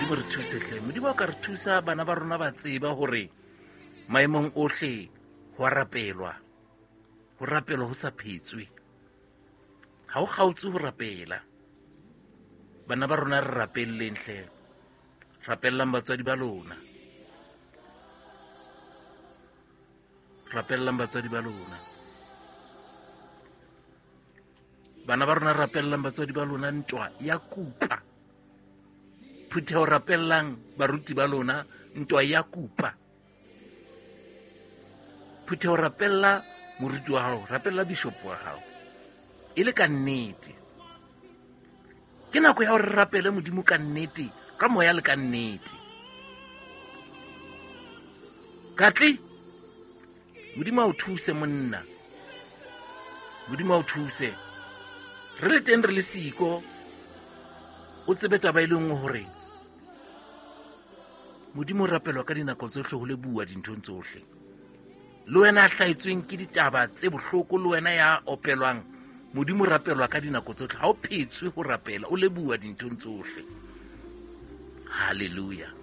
Modimo re thuse hle. Modimo o ka re thusa, bana ba rona ba tseba hore maemong ohle ho a rapelwa, ho rapelwa ho sa phetswe, ha o kgaotse ho rapela. Bana ba rona re rapelleng hle, rapellang batswadi ba lona, rapellang batswadi ba lona. Bana ba rona rapellang batswadi ba lona, ntwa ya kupa. Phutheho rapellang baruti ba lona, ntwa ya kupa. Phutheho rapella moruti wa hao, rapella bishop wa hao e le ka nnete. Ke nako ya hore re rapele Modimo ka nnete, ka moya le ka nnete. Katle Modimo a o thuse monna, Modimo a o thuse. Re le teng re le siko, o tsebe taba e le nngwe hore Modimo o rapelwa ka dinako tsohle, ho leboha dinthong tsohle. Le wena a hlaetsweng ke ditaba tse bohloko, le wena ya opelwang, Modimo o rapelwa ka dinako tsohle. Ha o phetswe ho rapela, o leboha dinthong tsohle. Halleluja.